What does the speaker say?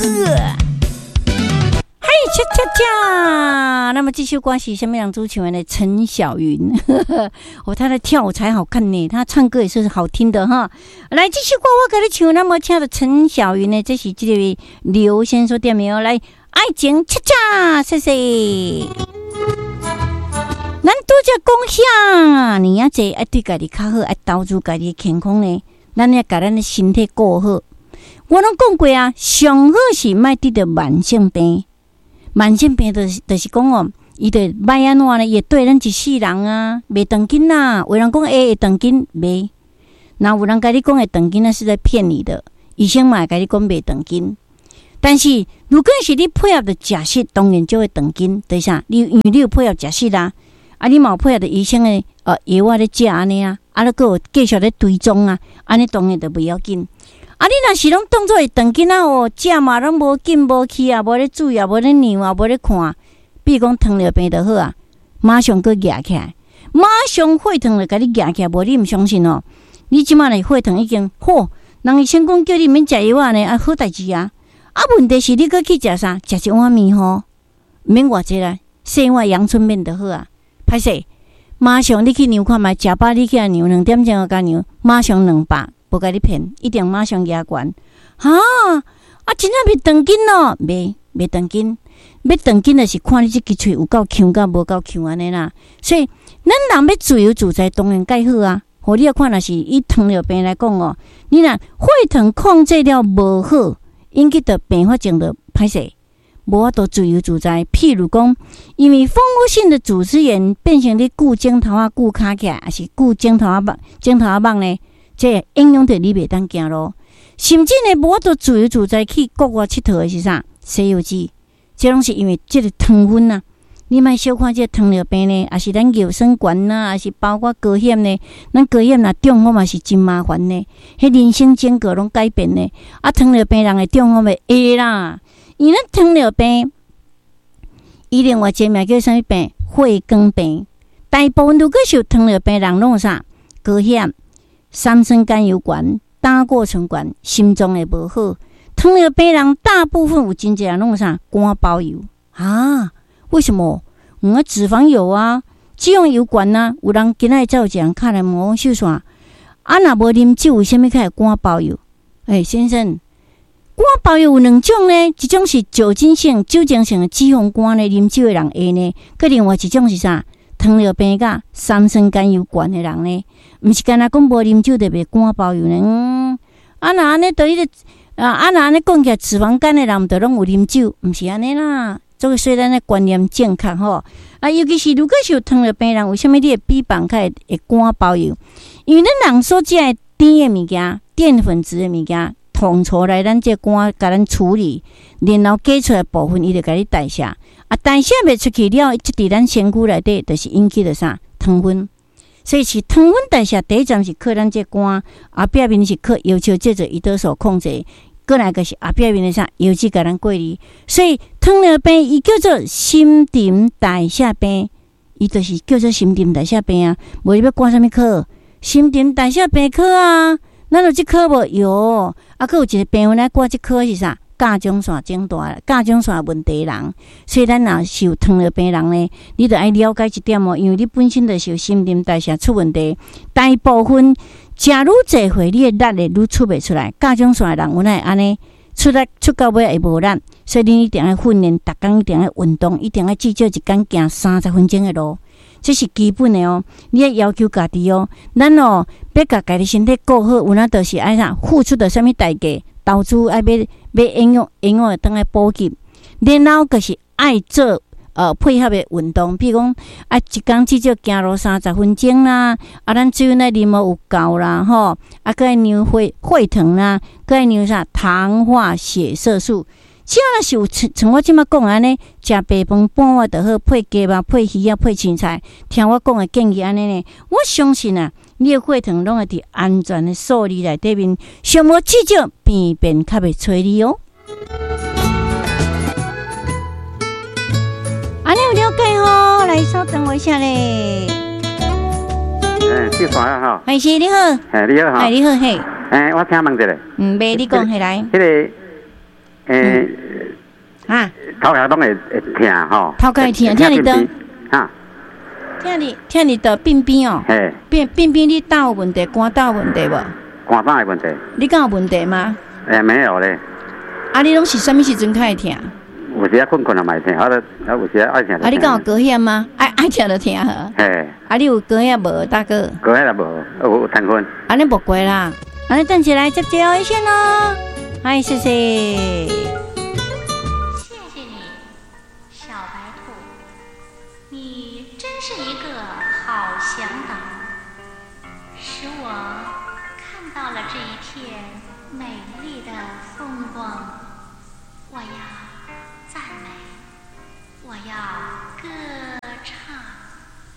嘿，恰恰恰！那麼這首歌是啥物人主唱的呢？陳小雲，哦，他的跳舞才好看呢，他唱歌也是好聽的哈。來，這首歌我共你唱，那麼請著陳小雲呢，這是這個劉先生點的哦。來，愛情恰恰，謝謝。咱拄才講遐爾仔濟，愛對家己較好，愛投資家己的健康呢，咱愛共咱的身體顧好。我攏講過啊，上好是莫得著慢性病。慢性病就是講哦，伊就歹按怎呢？伊會綴咱一世人啊，袂長緊啦。有人講會長緊，袂。若有人共你講會長緊，那是在騙你的。醫生嘛會共你講袂長緊。但是如果是你配合著食食，當然就會長緊。就是啥？你因為你有配合食食啦，啊，你嘛有配合著醫生的藥仔咧食按呢啊，啊，你閣有繼續咧追蹤啊，按呢當然就袂要緊。啊！你若是攏當做會長緊仔哦，食嘛攏無緊無去啊，無咧注意啊，無咧量啊，無咧看。比如講糖尿病就好啊，馬上閣夯起來，馬上血糖就共你夯起來，無你毋相信哦。你這馬的血糖已經好，人醫生講叫你毋免食藥仔呢，啊好代誌啊。啊，問題是你閣去食啥？食一碗麵吼，毋免偌濟啦，細碗陽春麵就好啊。歹勢，馬上你去量看覓，食飽你起來量2點鐘就共量，馬上200。無共你騙，一定馬上夯懸。哈！啊，真正袂長緊咯，袂袂長緊。欲長緊的是看你這支喙有夠強佮無夠強按呢啦。所以，咱人欲自由自在，當然蓋好啊。予你看，若是以糖尿病來講哦，你若血糖控制了無好，引起著併發症就歹勢，無法度自由自在。譬如講，因為蜂窩性的組織炎變成你鋸指頭仔鋸跤起來，抑是鋸指頭仔肉、指頭仔肉呢？這影響著你袂當行路，甚至呢無法度自由自在去國外𨑨迌的是啥？西遊記，這攏是因為這個糖分啊！你莫小看這個糖尿病呢，抑是咱尿酸懸啊，抑是包括高血壓呢。咱高血壓若中風嘛是真麻煩呢，彼人生整個攏改變呢。啊，糖尿病人會中風袂？會啦，因為咱糖尿病，伊另外一個名叫啥物病？血管病。大部分如果是有糖尿病人，攏有啥？高血壓、三酸甘油懸、膽固醇懸、心臟會無好。糖尿病人大部分有真濟人攏有啥？肝包油啊？為什麼？啊，脂肪有啊，脂肪油懸啊。有人今仔日才有一個人敲來問我秀璇，啊，若無啉酒，為啥物較會肝包油？欸，先生，肝包油有兩種呢，一種是酒精性、酒精性的脂肪肝呢，啉酒的人會呢。閣另外一種是啥？糖尿病佮三酸甘油懸的人呢，毋是干焦講無啉酒就袂肝包油呢。啊，若按呢，就彼個啊，啊，若按呢講起來，脂肪肝的人毋就攏有啉酒，毋是按呢啦。所以咱的觀念正確吼。啊，尤其是如果是有糖尿病人，為啥物你的脂肪較會肝包油？因為咱人所食的甜的物件、澱粉質的物件，統籌來咱這肝共咱處理，然後加出來部分，伊就共你代謝。啊，代謝袂出去了，積佇咱身軀內底，就是引起著啥糖分。所以是糖分代謝第一站是靠咱這肝，後壁面是靠要求這做胰島素控制，過來就是後壁面的啥油脂共咱過濾。所以糖尿病伊叫做新陳代謝病，伊就是叫做新陳代謝病啊。無你欲掛啥物科？新陳代謝病科啊，咱有這科無？有，啊，閣有一個病人來掛這科是啥？甲狀腺腫大、甲狀腺問題人，所以咱若是有糖尿病人呢，你著愛了解這點哦，因為你本身就是有新陳代謝出問題，大部分食愈濟歲，你的力會愈出袂出來。甲狀腺的人有哪會按呢？出來出到尾會無力，所以你一定愛訓練，逐工一定愛運動，一定愛至少一工行30分鐘的路，這是基本的哦。你愛要求家己哦，咱哦欲共家己身體顧好，有影就是愛啥付出著啥物代價？投資愛買買營養，營養會當來補給，然後就是愛做配合的運動，比如講啊，一工至少行路三十分鐘啦，啊，咱水分愛啉予有夠啦，吼，啊，閣愛量血糖啦，閣愛量啥糖化血色素。只要若是有像像我這馬講按呢，食白飯半碗就好，配雞肉、配魚仔、配凊菜，聽我講的建議按呢呢，我相信啊，你的血糖攏會佇安全的數字內底面，上無至少病變較袂揣你哦。按呢有了解吼，來稍等我一下咧。欸，秀璇啊吼。係是你好。嘿，你好哈。哎，你好嘿。欸，我請問一下。嗯，袂你講起來。彼個。啊，頭殼攏會疼吼。頭殼會疼，疼佇佗？哈？疼佇佗鬢邊哦。嘿。鬢邊你膽有問題，肝膽有問題無？肝膽的問題。你敢有問題嗎？沒有咧。啊，你攏是啥物時陣較會疼？有時啊睏睏也嘛會疼，啊有時啊愛疼。啊，你敢有高血壓嗎？愛疼就疼呵。嘿。啊，你有高血壓無，大哥？高血壓無，有癱瘓。按呢無過啦，按呢等一下來接最後一線囉。嗨，謝謝。謝謝你，小白兔，你真是一個好嚮導，使我看到了這一片美麗的風光。我要讚美，我要歌唱。